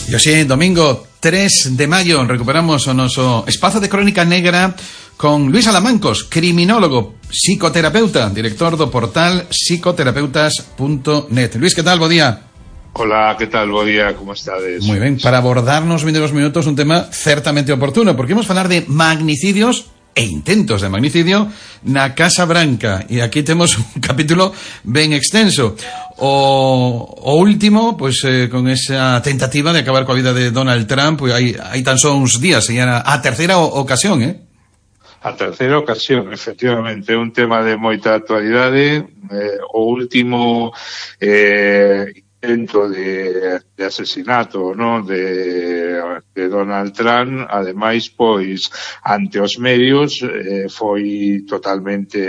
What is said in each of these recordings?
E hoxe, domingo 3 de maio, recuperamos o noso espazo de crónica negra con Luís Alamancos, criminólogo, psicoterapeuta, director do portal psicoterapeutas.net. Luís, que tal? Bo día. Hola, que tal? Bo día, como estades? Moi ben, para abordarnos 22 minutos un tema certamente oportuno, porque imos falar de magnicidios e intentos de magnicidio na Casa Branca, e aquí temos un capítulo ben extenso. O último, pois con esa tentativa de acabar coa vida de Donald Trump, pois hai tan só uns días, e era a terceira ocasión, A terceira ocasión, efectivamente, é un tema de moita actualidade. O último intento de asesinato, ¿no?, de Donald Trump, ademais, pois, ante os medios, foi totalmente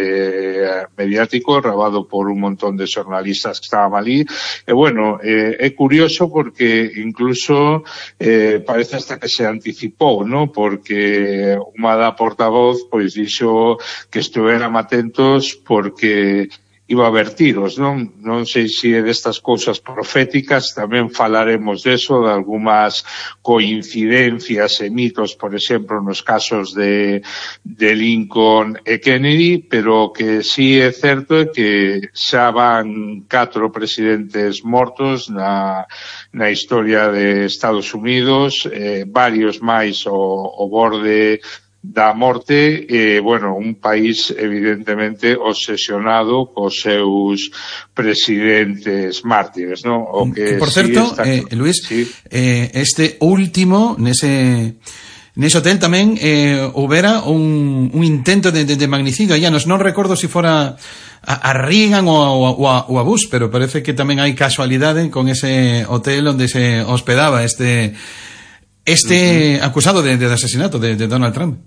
mediático, grabado por un montón de xornalistas que estaban ali, e bueno, é curioso porque incluso parece hasta que se anticipou, ¿no?, porque unha da portavoz, pois, dixo que estuveran atentos porque iba a haber tiros, non sei se é destas cousas proféticas, tamén falaremos deso, de algunhas coincidencias e mitos, por exemplo, nos casos de Lincoln e Kennedy, pero que sí é certo é que xa van 4 presidentes mortos na historia de Estados Unidos, varios máis ao borde da morte, bueno, un país evidentemente obsesionado cos seus presidentes mártires, ¿no? O que por certo, sí Luís, sí. Este último, nese hotel tamén houbera un intento de magnicidio. Ya non recordo se fora a Reagan ou a Bush, pero parece que tamén hai casualidade con ese hotel onde se hospedaba este acusado de asesinato de Donald Trump.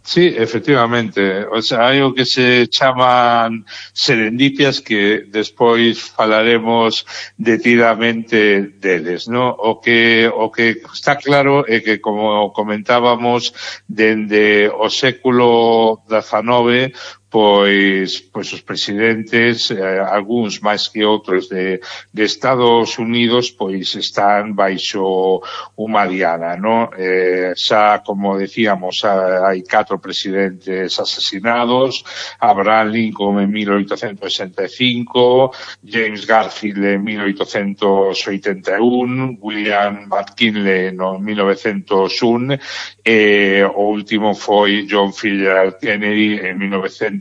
Sí, efectivamente. O sea, hai o que se chaman serendipias que despois falaremos detidamente deles, ¿no? O que está claro é que, como comentábamos, dende o século XIX, pois os presidentes, algúns máis que outros de Estados Unidos, pois están baixo unha diana, ¿no? Xa, como decíamos, hai 4 presidentes asesinados: Abraham Lincoln en 1865, James Garfield en 1881, William McKinley en 1901, o último foi John F. Kennedy en 1963,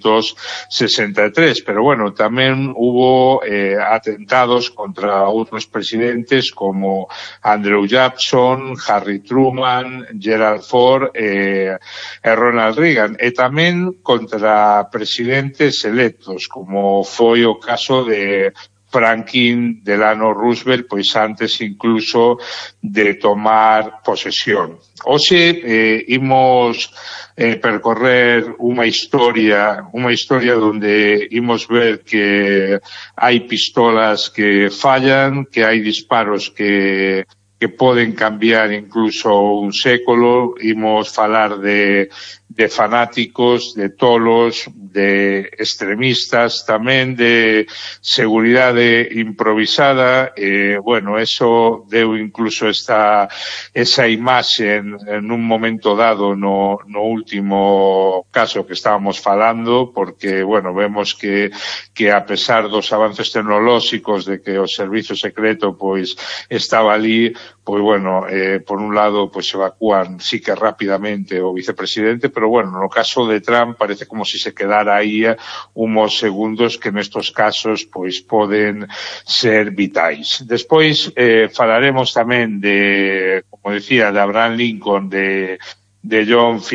pero bueno, tamén hubo atentados contra outros presidentes como Andrew Jackson, Harry Truman, Gerald Ford e Ronald Reagan, e tamén contra presidentes electos, como foi o caso de Franklin Delano Roosevelt, pois antes incluso de tomar posesión. Hoxe imos percorrer unha historia onde imos ver que hai pistolas que fallan, que hai disparos que poden cambiar incluso un século. Imos falar de fanáticos, de tolos, de extremistas, tamén de seguridade improvisada. Bueno, eso deu incluso esa imaxe en un momento dado no último caso que estábamos falando, porque, bueno, vemos que a pesar dos avances tecnolóxicos, de que o servizo secreto pois estaba ali, pois bueno, por un lado pois evacúan sí que rapidamente o vicepresidente, pero bueno, no caso de Trump parece como si se quedara aí uns segundos que nestos casos pois poden ser vitais. Despois falaremos tamén de, como decía, de Abraham Lincoln, de John F.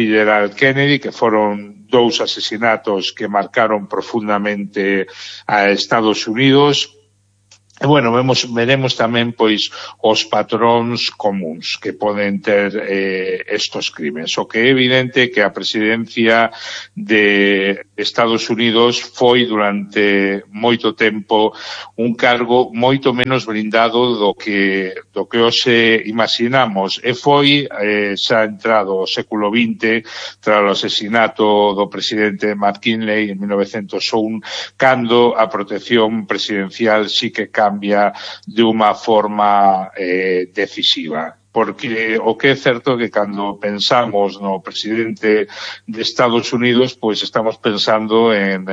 Kennedy, que foron 2 asesinatos que marcaron profundamente a Estados Unidos. E, bueno, veremos tamén, pois, os patróns comuns que poden ter estos crimes. O que é evidente que a presidencia de Estados Unidos foi durante moito tempo un cargo moito menos blindado do que hoxe imaginamos, e foi xa entrado o século XX tras o asesinato do presidente McKinley en 1901, cando a protección presidencial sí que cambia de unha forma decisiva. porque o que é certo que cando pensamos no presidente de Estados Unidos, pois estamos pensando en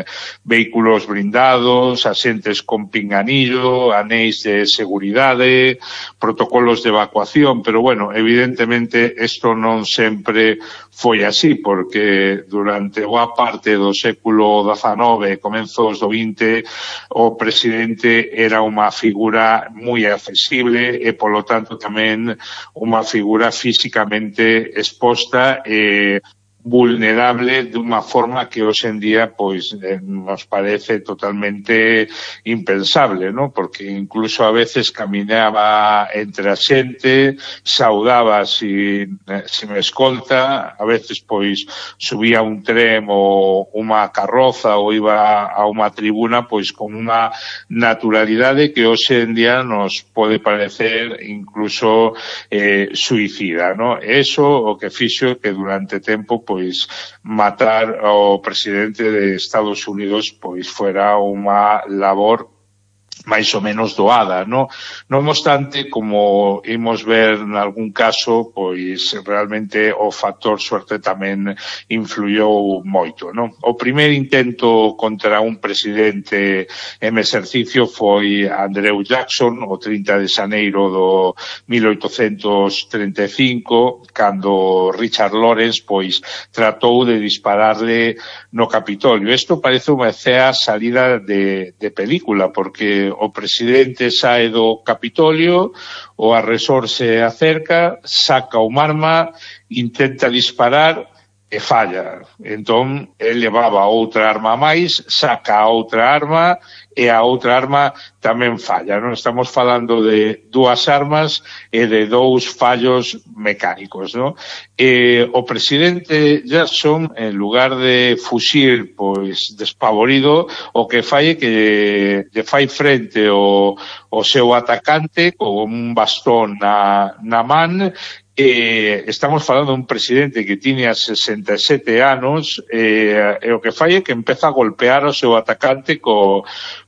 vehículos blindados, asentes con pinganillo, anéis de seguridade, protocolos de evacuación, pero bueno, evidentemente isto non sempre foi así, porque durante boa parte do século XIX e comenzos do XX o presidente era unha figura moi accesible e polo tanto tamén unha figura físicamente exposta e vulnerable de unha forma que hoxe en día pois nos parece totalmente impensable, ¿no? Porque incluso a veces caminaba entre a xente, saudaba sin escolta, a veces pois subía un tren ou unha carroza ou iba a unha tribuna pois con unha naturalidade que hoxe en día nos pode parecer incluso suicida, ¿no? Eso o que fixo que durante tempo pois matar ao presidente de Estados Unidos pois fuera unha labor máis ou menos doada, non? Non obstante, como imos ver nalgún caso, pois realmente o factor suerte tamén influyou moito, non? O primeiro intento contra un presidente en exercicio foi Andrew Jackson, o 30 de xaneiro do 1835, cando Richard Lawrence, pois, tratou de dispararle no Capitolio. Isto parece unha escena salida de película, porque o presidente sae do Capitolio, o agresor se acerca, saca un arma, intenta disparar e falla. Entón, el levaba outra arma máis, saca outra arma e a outra arma tamén falla, non? Estamos falando de dúas armas e de dous fallos mecánicos, non? O presidente Jackson, en lugar de fuxir, pois, despavorido, o que fai é que lle fai frente o seu atacante con un bastón na man. Estamos falando dun presidente que tiña 67 anos e o que fai é que empeza a golpear o seu atacante co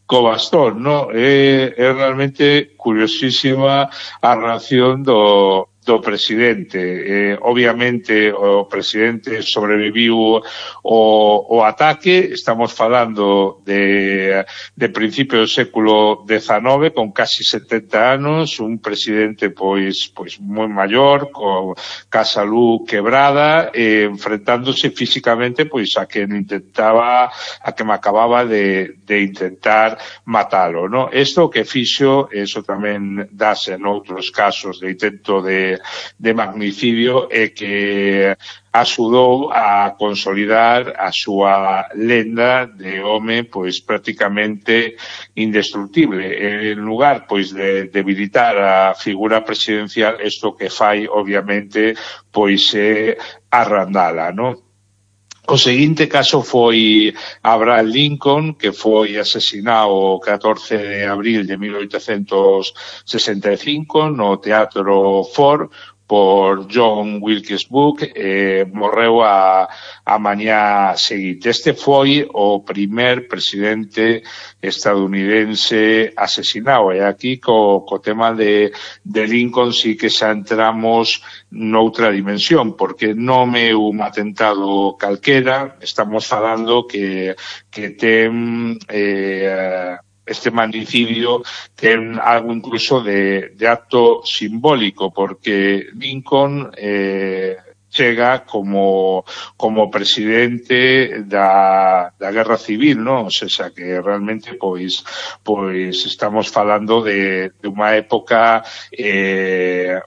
bastón, non? É realmente curiosísima a reacción do presidente. Obviamente o presidente sobreviviu o ataque. Estamos falando de principio do século XIX, con casi 70 anos, un presidente pois moi maior, ca salud quebrada, enfrentándose físicamente pois a que me acababa de intentar matalo, non? Isto que fixo, eso tamén dase en outros casos de intento de magnicidio, e que axudou a consolidar a súa lenda de home pois prácticamente indestructible. En lugar pois de debilitar a figura presidencial, isto que fai obviamente pois é arrandala, non? O seguinte caso foi Abraham Lincoln, que foi asesinado o 14 de abril de 1865 no Teatro Ford por John Wilkes Booth, morreu a mañá seguinte. Este foi o primer presidente estadounidense asesinado, e aquí co tema de Lincoln sí que xa entramos noutra dimensión, porque non é un atentado calquera. Estamos falando que ten este magnicidio ten algo incluso de acto simbólico, porque Lincoln chega como presidente da Guerra Civil, non? O sea, que realmente pois estamos falando de unha época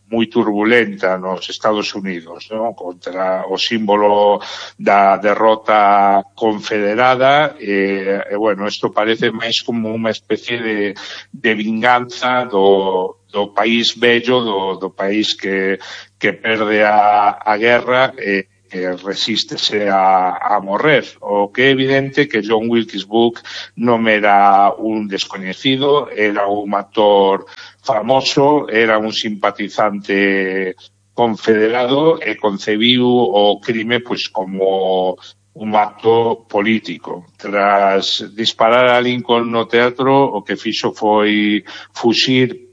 moi turbulenta nos Estados Unidos, non? Contra o símbolo da derrota confederada, e bueno, isto parece máis como unha especie de vinganza do país bello, do país que perde a guerra e resístese a morrer. O que é evidente que John Wilkes Booth non era un descoñecido, era un actor famoso, era un simpatizante confederado e concebiu o crime pois como un acto político. Tras disparar a Lincoln no teatro, o que fixo foi fuxir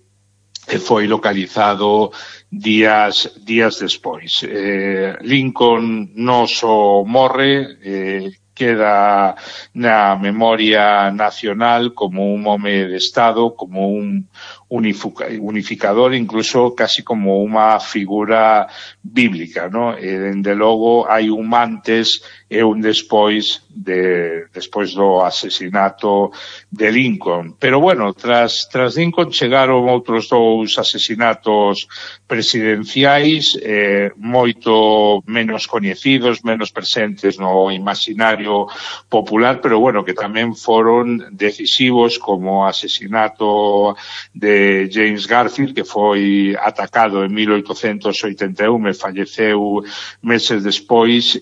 e foi localizado días despois. Lincoln non só morre, queda na memoria nacional como un home de Estado, como un unificador, incluso casi como unha figura bíblica, ¿no? Dende logo hai un antes e un despois do asesinato de Lincoln. Pero bueno, tras Lincoln chegaron outros dous asesinatos presidenciais, moito menos coñecidos, menos presentes no imaginario popular, pero bueno, que tamén foron decisivos, como o asesinato de James Garfield, que foi atacado en 1881 e falleceu meses despois,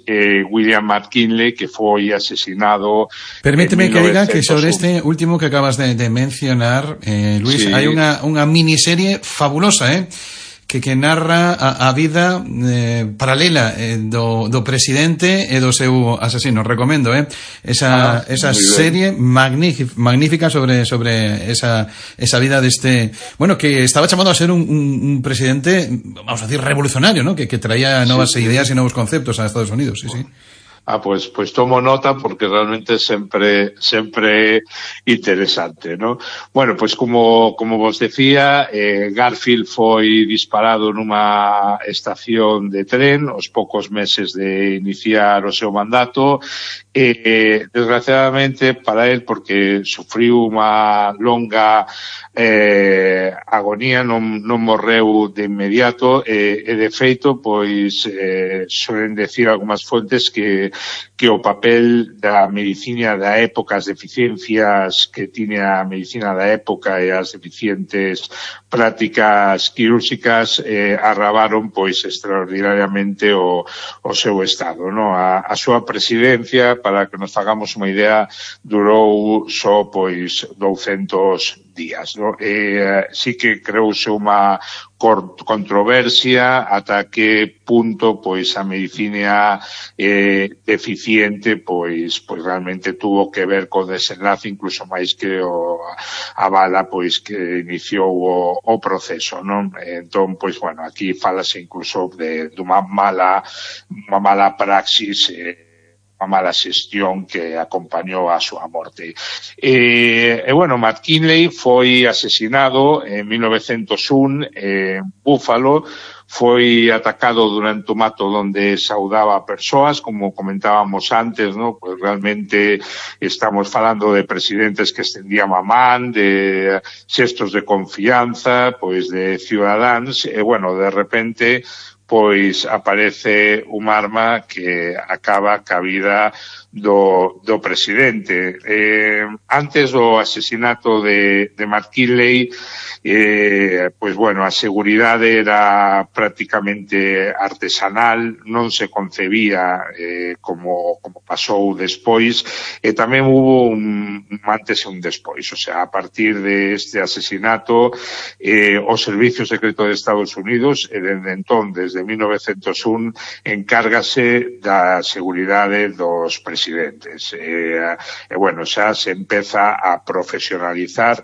William McKinley, que foi asesinado. Permíteme que diga que sobre este último que acabas de mencionar, Luis, sí, hai unha miniserie fabulosa, que narra a vida paralela do presidente e do seu asesino. Recomendo, esa serie magnífica sobre esa vida deste, bueno, que estaba chamado a ser un presidente, vamos a decir, revolucionario, ¿no? Que traía novas ideas e novos conceptos a Estados Unidos, sí. Pues tomo nota, porque realmente sempre interesante, ¿no? Bueno, pues como vos decía, Garfield foi disparado nunha estación de tren aos poucos meses de iniciar o seu mandato, desgraciadamente para él, porque sufriu unha longa agonía, non morreu de inmediato, e de feito, pois suelen decir algunhas fontes que o papel da medicina da época, as deficiencias que tiña a medicina da época e as deficientes prácticas quirúrxicas agravaron pois extraordinariamente o seu estado, ¿no? A súa presidencia, para que nos fagamos unha idea, durou só pois 200 días, ¿no? Sí que creouse unha controversia ata que punto pois a medicina deficiente pois realmente tuvo que ver co desenlace, incluso máis que a bala pois que iniciou o proceso, non? Entón, pois bueno, aquí falase incluso de unha mala praxis, a mala xestión que acompañou a súa morte. Bueno, McKinley foi asesinado en 1901 en Buffalo, foi atacado durante o mato donde saudaba a persoas, como comentábamos antes, ¿no? Pues realmente estamos falando de presidentes que extendían a man, de xestos de confianza, pois de cidadáns, e bueno, de repente pois aparece un arma que acaba ca vida do presidente. Antes do asesinato de McKinley, pois bueno, a seguridade era prácticamente artesanal, non se concebía como pasou despois, e tamén hubo un antes e un despois. O sea, a partir de este asesinato, o Servicio Secreto de Estados Unidos, dende entón, desde 1901, encárgase da seguridade dos presidentes. Bueno, xa se empeza a profesionalizar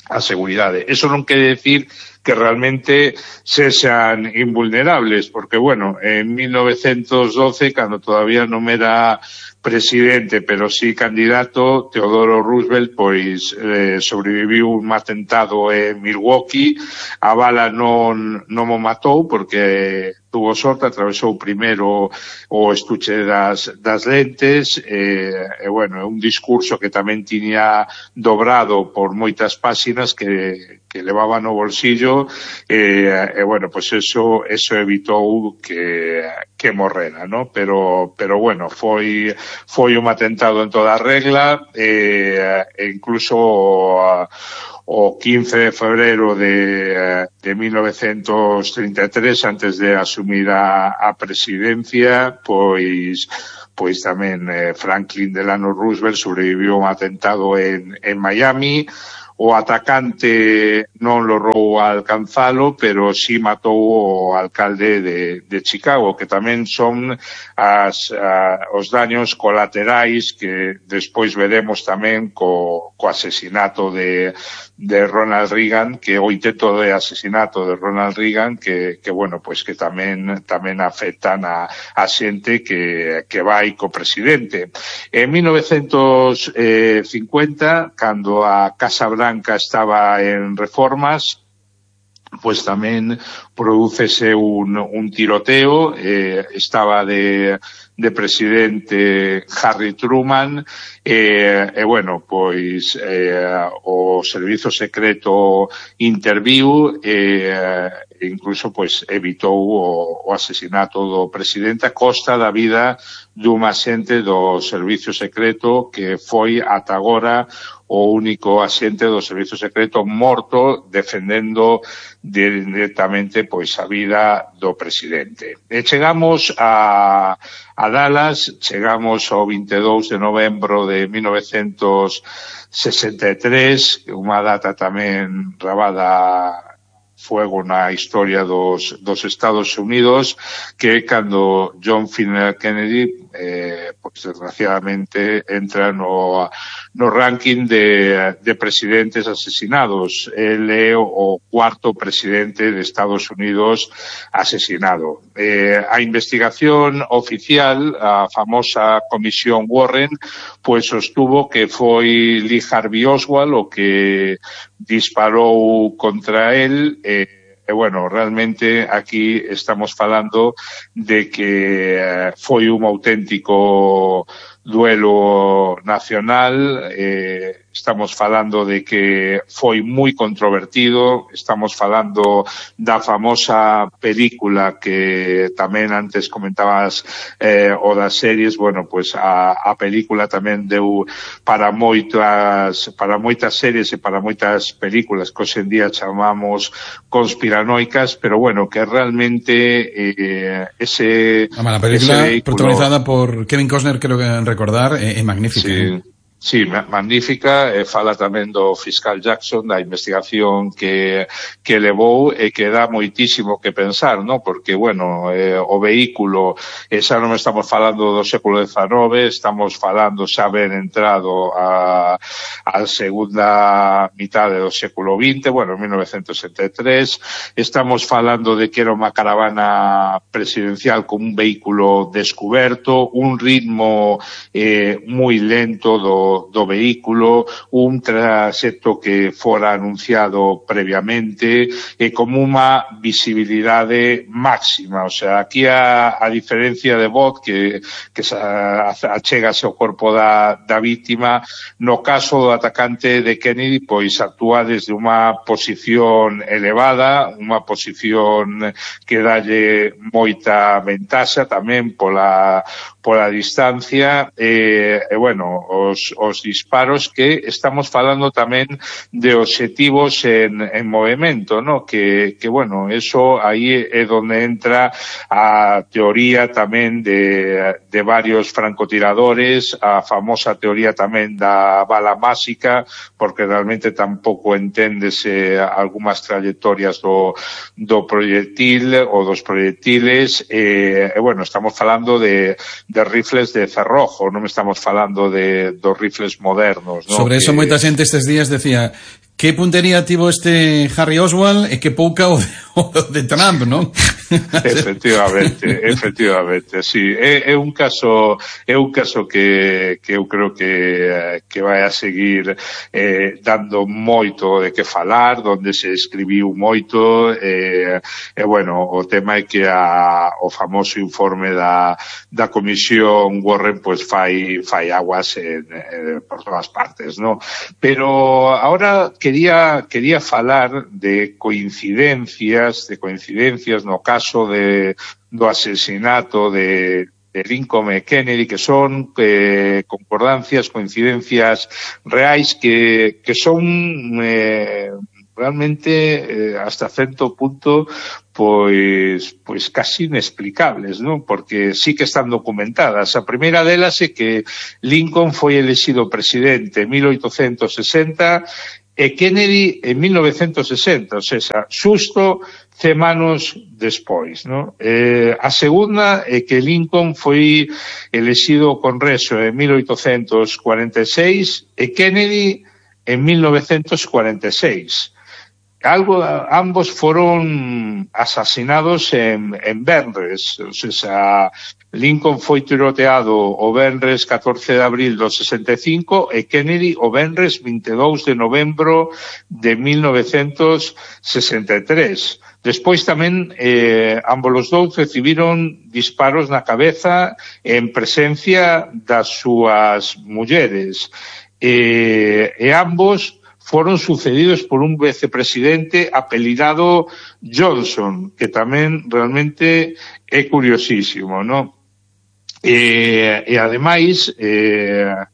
a seguridade. Eso non quere decir que realmente sexan invulnerables, porque, bueno, en 1912, cando todavía non era presidente, pero sí candidato, Teodoro Roosevelt, pois sobreviviu un atentado en Milwaukee. A bala non mo matou, porque tuvo sorte, atravesou primeiro o estuche das lentes, e bueno, un discurso que tamén tiña dobrado por moitas páxinas que levaba no bolsillo, e bueno, pues eso evitou que morrera, ¿no? Pero bueno, foi un atentado en toda regla, e incluso o 15 de febrero de 1933, antes de asumir a presidencia, pois tamén Franklin Delano Roosevelt sobreviviu un atentado en Miami. o atacante non logrou alcanzalo, pero sí matou o alcalde de Chicago, que tamén son os daños colaterais que despois veremos tamén co asesinato de Ronald Reagan, que o intento de asesinato de Ronald Reagan, que bueno, pois que tamén afectan a xente que vai co presidente. En 1950, cando a Casa Branca estaba en reformas, pues tamén prodúcese un tiroteo, estaba de presidente Harry Truman, bueno, pois o servizo secreto interviu, incluso pois evitou o asesinato do presidente a costa da vida dun axente do servizo secreto que foi ata agora o único axente do servizo secreto morto defendendo directamente pois a vida do presidente. E chegamos a Dallas, chegamos ao 22 de novembro de 1963, unha data tamén rabada fuego na historia dos Estados Unidos, que cando John F. Kennedy pues desgraciadamente entra no ranking de presidentes asesinados. El é o cuarto presidente de Estados Unidos asesinado. A investigación oficial, a famosa comisión Warren, pues sostuvo que foi Lee Harvey Oswald o que disparou contra él. Bueno, realmente aquí estamos falando de que foi un auténtico duelo nacional, estamos falando de que foi moi controvertido, estamos falando da famosa película que tamén antes comentabas, o das series. Bueno, pues a película tamén deu para moitas series e para moitas películas que hoxe en día chamamos conspiranoicas, pero bueno, que realmente la película protagonizada por Kevin Costner, creo que recordar, é magnífica. Sí. Sí, magnífica, fala tamén do fiscal Jackson, da investigación que levou e que dá moitísimo que pensar, ¿no? Porque, bueno, o vehículo, xa non estamos falando do século XIX, estamos falando xa ben entrado a segunda mitade do século XX, bueno, 1973, estamos falando de que era unha caravana presidencial con un vehículo descuberto, un ritmo moi lento do vehículo, un traxecto que fora anunciado previamente e como unha visibilidade máxima. O sea, aquí a diferencia de Bot que achegase ao corpo da víctima, no caso do atacante de Kennedy, pois actúa desde unha posición elevada, unha posición que dalle moita ventaxa tamén pola distancia, bueno, os disparos, que estamos falando tamén de obxectivos en movimento, ¿no? Que bueno, eso aí é donde entra a teoría tamén de varios francotiradores, a famosa teoría tamén da bala máxica, porque realmente tampouco enténdese algunhas trayectorias do proyectil ou dos proyectiles, bueno, estamos falando de rifles de cerrojo, non estamos falando dos rifles modernos, ¿no? Sobre eso moita xente estes días decía: que puntería tivo este Harry Oswald e que pouca o de Trump, non? Efectivamente, sí. É un caso que eu creo que vai a seguir dando moito de que falar, donde se escribiu moito, bueno, o tema é que o famoso informe da comisión Warren pues fai aguas por todas partes, ¿no? Pero ahora quería falar de coincidencias no caso do asesinato de Lincoln e Kennedy, que son concordancias, coincidencias reais que son realmente hasta certo punto pois casi inexplicables, ¿no? Porque sí que están documentadas. A primeira delas é que Lincoln foi elexido presidente en 1860 e Kennedy en 1960, ou seja, xusto 100 anos despois, no? A segunda é que Lincoln foi elexido ao Congreso en 1846 e Kennedy en 1946. Ambos foron asasinados en venres, ou seja, Lincoln foi tiroteado o venres 14 de abril do 65 e Kennedy o venres 22 de novembro de 1963. Despois tamén ambos os dous recibiron disparos na cabeza en presencia das súas mulleres e ambos foron sucedidos por un vicepresidente apelidado Johnson, que tamén realmente é curiosísimo, non? E ademais,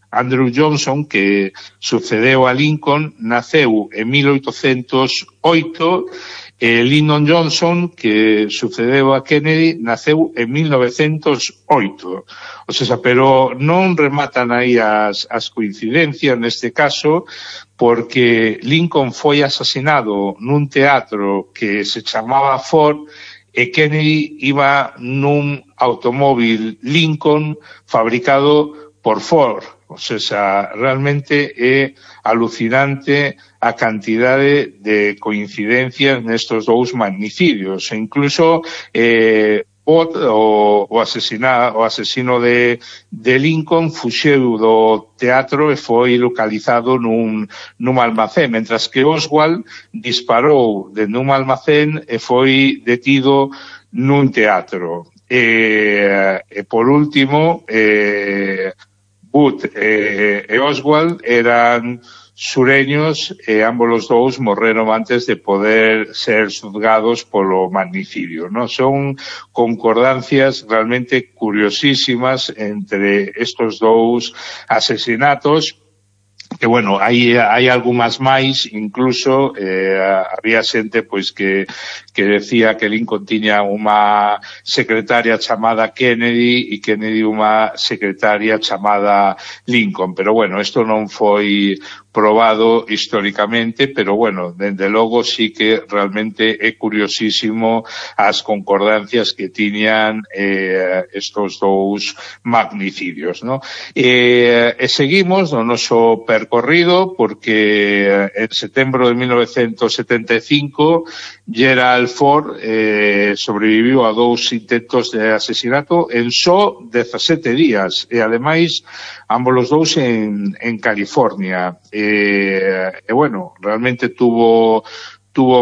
Andrew Johnson, que sucedeu a Lincoln, naceu en 1808, e Lyndon Johnson, que sucedeu a Kennedy, naceu en 1908. O sea, pero non rematan aí as coincidencias neste caso, porque Lincoln foi asesinado nun teatro que se chamaba Ford e Kennedy iba nun automóvil Lincoln fabricado por Ford. O sea, realmente é alucinante a cantidade de coincidencias nestos dous magnicidios. E incluso o asesino de Lincoln fuxeu do teatro e foi localizado nun almacén, mentras que Oswald disparou dende un almacén e foi detido nun teatro. E por último, Booth e Oswald eran sureños e ambos os dous morreron antes de poder ser xuzgados polo magnicidio, ¿no? Son concordancias realmente curiosísimas entre estos dous asesinatos, que, bueno, hai algunhas máis, incluso había xente pois que decía que Lincoln tiña unha secretaria chamada Kennedy e Kennedy unha secretaria chamada Lincoln, pero bueno, isto non foi probado históricamente, pero bueno, dende logo sí que realmente é curiosísimo as concordancias que tiñan estos dous magnicidios, ¿no? E seguimos no noso percorrido porque en setembro de 1975 Gerald Ford sobreviviu a dous intentos de asesinato en só 17 días e ademais ambos os dous en California. Bueno, realmente tuvo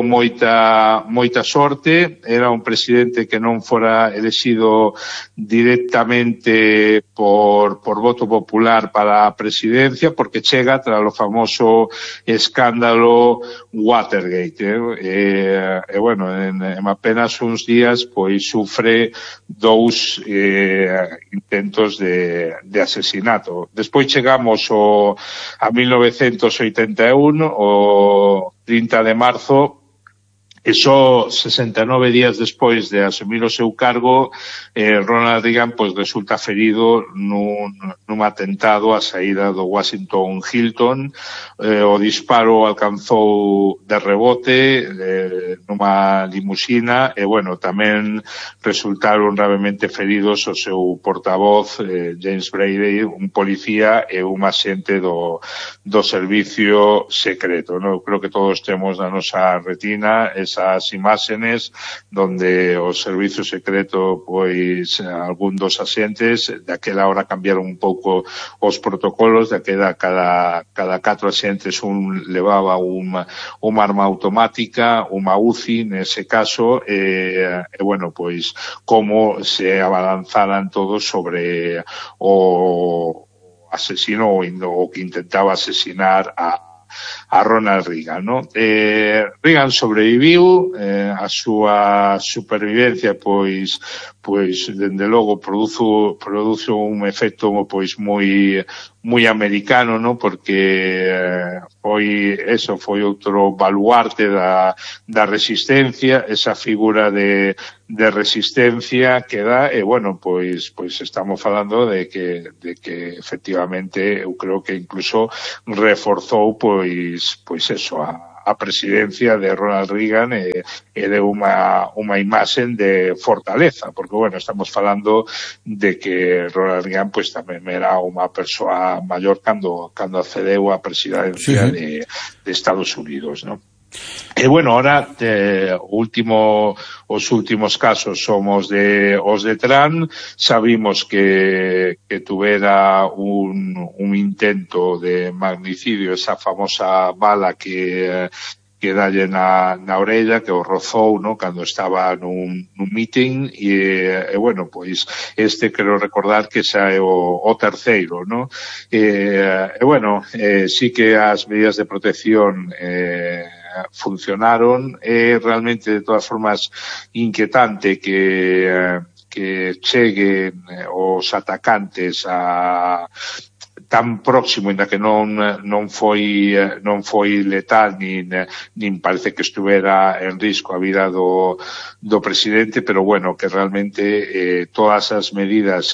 moita sorte, era un presidente que non fora elexido directamente por voto popular para a presidencia, porque chega tras o famoso escándalo Watergate, e bueno, en apenas uns días pois sufre dous intentos de asesinato. Despois chegamos a 1981, o 30 de marzo, e só 69 días despois de asumir o seu cargo, Ronald Reagan pois resulta ferido nun atentado á saída do Washington Hilton. O disparo alcanzou de rebote nunha limusina e, bueno, tamén resultaron gravemente feridos o seu portavoz James Brady, un policía e un axente do servicio secreto, ¿no? Creo que todos temos na nosa retina esas imágenes donde o servicio secreto, pois, algún dos axentes, daquela hora cambiaron un pouco os protocolos, daquela cada 4 axentes un levaba unha arma automática, unha UCI nese caso, e bueno, pois, como se abalanzaran todos sobre o asesino o que intentaba asesinar a Ronald Reagan, ¿no? Reagan sobreviviu, a súa supervivencia pois dende logo produce un efecto pois moi moi americano, ¿no? Porque foi outro baluarte da resistencia, esa figura de resistencia que dá, e bueno, pois estamos falando de que efectivamente eu creo que incluso reforzou pois eso, a presidencia de Ronald Reagan e de unha imaxen de fortaleza, porque bueno, estamos falando de que Ronald Reagan pois tamén era unha persoa maior cando accedeu á presidencia de Estados Unidos, ¿no? E bueno, ahora os últimos casos somos os de Trump. Sabimos que tuvera un intento de magnicidio, esa famosa bala que dalle na orella, que o rozou, ¿no? Cando estaba nun meeting, e bueno, pois quero recordar que xa é o terceiro, ¿no? E bueno, sí que as medidas de protección funcionaron. É realmente, de todas formas, inquietante que cheguen os atacantes tan próximo, ainda que non foi letal nin parece que estuvera en risco a vida do presidente, pero bueno, que realmente todas as medidas